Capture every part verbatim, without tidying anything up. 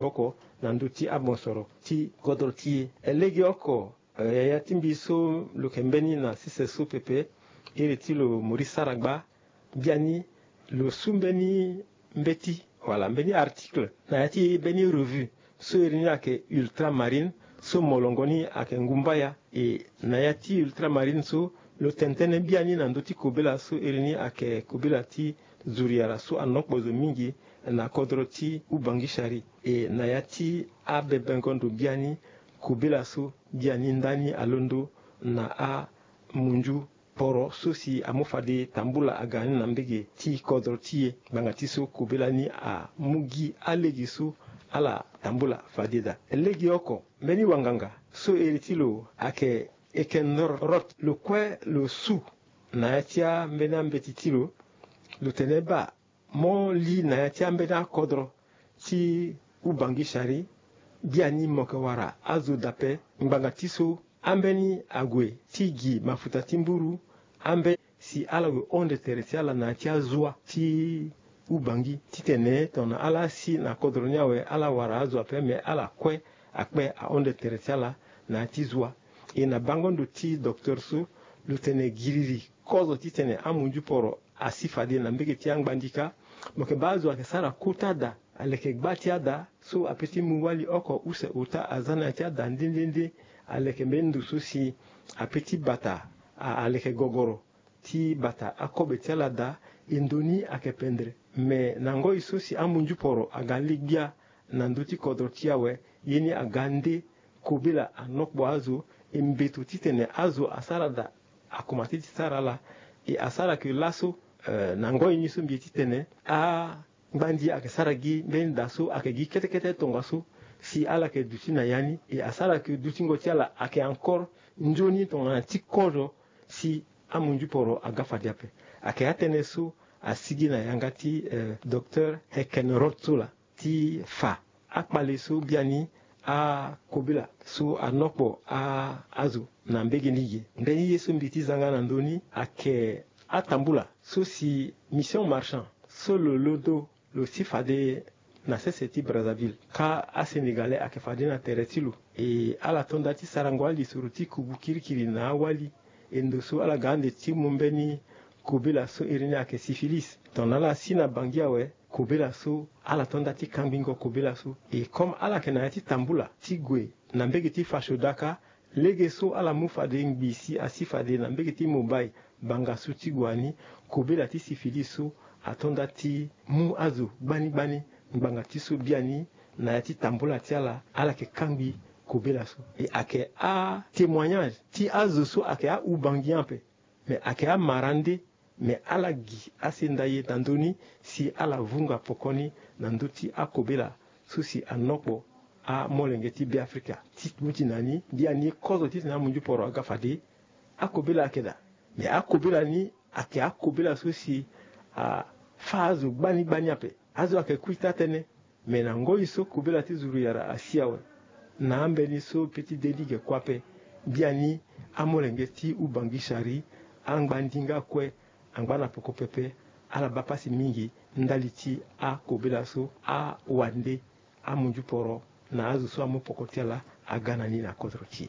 maboko na ndö ti amosoro ti kodro ti e. Legeoko, eh, yaya ti mbi so lo yeke mbeni na sese so pepe, iri ti lo Maurice Saragba, biani lo su mbeni mbeti, wala mbeni article na ya ti mbeni revue so iri ni ayeke Ultramarine, so molongo ni ayeke Ngumbaya. E na ya ti Ultramarine so, lo tene tënë biani na ndö ti kobela so iri ni ayeke kobela ti zuru yara so anokpo zo mingi na kodro ti Ubangi Sari. E na ya ti abebengo ndo biani, kobela so biani ndani alondo na amunzu poro so si amu fade tambula aga ni na mbege ti kodro ti e, ngbanga ti so kobela ni amu gi alege so ala tambula fade daa. Legeoko, mbeni wanganga so iri ti lo ayeke Ekenrot, lo kue lo su na ya ti ambeni ambeti ti lo, lo tene baa mo li na ya ti ambeni akodro ti Ubangi Sari, biani mo yeke wara azo daa ape, ngbanga ti so ambeni ague ti gi mafuta ti mburu, ambeni si ala gue hon de terre ti ala na ya ti azua ti Ubangi, titene tongana ala si na kodro ni awe, ala wara azo ape, me ala kue akpe ahon de terre ti ala na ya ti zua. E na bango ndo ti docteur so, lo tene giriri kozo titene amunzu poro asi fade na mbege ti angbandi kâ. Mo yeke baa azo ayeke sara kota da, aleke gba ti ada so ape ti mu wali oko use ota aza na ya ti ada nde nde nde. Aleke mbeni ndo so si ape ti bata, a, aleke gogoro ti bata akobe ti ala daa. E ndo ni ayeke pendere. Me na ngoi so si amunzu poro aga li gbia na ndö ti kodro ti e awe, ye ni aga nde kobela anokpo azo, e mbeto titene azo asara daa akomate ti sara ala. E asara ke laso, eh, na ngoi ni so mbi ye titene angbandi ayeke sara gi mbeni da so ayeke gi kete kete tongaso si ala yeke duti na ya ni. E asara ke dutingo ti ala ayeke encore nzoni tongana ti kozo si amunzu poro aga fade ape. Ayeke atënë so asigi na yanga ti, eh, docteur Heken Rotsola ti fa akpale so biani akobela so anokpo a, azo na mbege ni ge. Mbeni ye so mbi ti za nga na ndö ni ayeke atambula so si Mission Marchand so lo londo lo si fade na sese ti Brazzaville, kâ aSénégalais ayeke fade na tere ti lo. E ala to nda ti sarango alisoro ti kubu kirikiri na awali. E ndo so ala ga ande ti mu mbeni kobela so iri ni ayeke syphilis. Tongana ala si na Bangui awe, kobela so ala to nda ti kangbingo kobela so. E comme ala yeke na ya ti tambula ti gue na mbege ti Fashoda kâ, lege so ala mu fade ngbii si asi fade na mbege ti Mumbai, banga so ti gue ni, kobela ti syphilis so ato nda ti mu azo gbani gbani, ngbanga ti so biani na ya ti tambula ti ala, ala yeke kangbi kobela so. E ayeke atémoignage ti azo so ayeke a-Ubangi ape. Me ayeke amara nde, me ala gi asenda ye na ndö ni si ala vunga poko ni na ndö ti akobela so si anokpo amolenge ti Beafrika. Ti duti na ni, biani kozo titene amunzu poro aga fade, akobela ayeke daa. Me akobela ni ayeke akobela so si afâ azo gbani gbani ape. Azo ayeke kui taa tënë. Me na ngoi so kobela ti zuru yara asi awe, na ambeni so pe ti de ni ge kue ape, biani amolenge ti Ubangi Sari, angba ndinga kue, angba na poko pepe, ala baa pasi mingi ndali ti akobela so, awande, amunzu poro na azo so amu poko ti ala aga na ni na kodro ti e.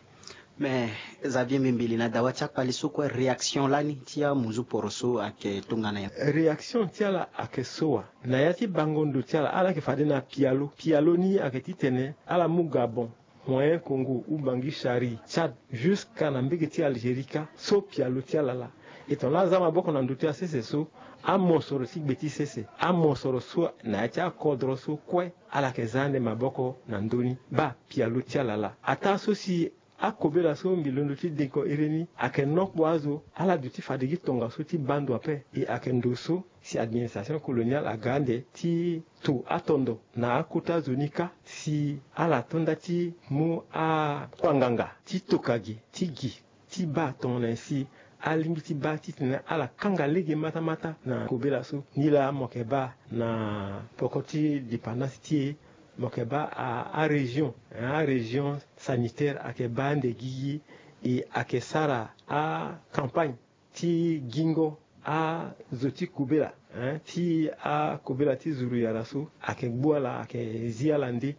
Me Xavier Mbimbili, na dawa ti akpali so kue, réaction lani ti amunzu poro so ayeke tongana nyen? Réaction ti ala ayeke so wa. Na ya ti bango ndo ti ala, ala yeke fade na pialo. Pialo ni ayeke titene ala mu Gabon, Moyen Congo, Ubangi Sari, Tchad, jusqu'à na mbege ti Algérie kâ, so pialo ti ala laa. E tongana ala za maboko na ndo ti ala sese so, amosoro ti gbe ti sese, amosoro so na ya ti akodro so kue, ala yeke za ande maboko na ndö ni, baa pialo ti ala laa. Ataa so si akobela so mbi londo ti dengo iri ni ayeke nokpo azo, ala duti fade gi tongaso ti baa ndo ape. E ayeke ndo so si administration coloniale aga ande ti to atondo na akota zo ni kâ, si ala to nda ti mu akpanganga ti toka gi, ti gi, ti baa tongana nyen si alingbi ti baa titene ala kanga lege matamata na kobela so. Nilaa mo yeke baa na poko ti dépendance ti e, mo yeke baa a, arégion, arégion sanitaire ayeke baa ande gigi. E ayeke sara acampagne ti gingo azo ti kobela, hein, ti akobela ti zuru yara so, ayeke gbu ala, ayeke zi ala nde.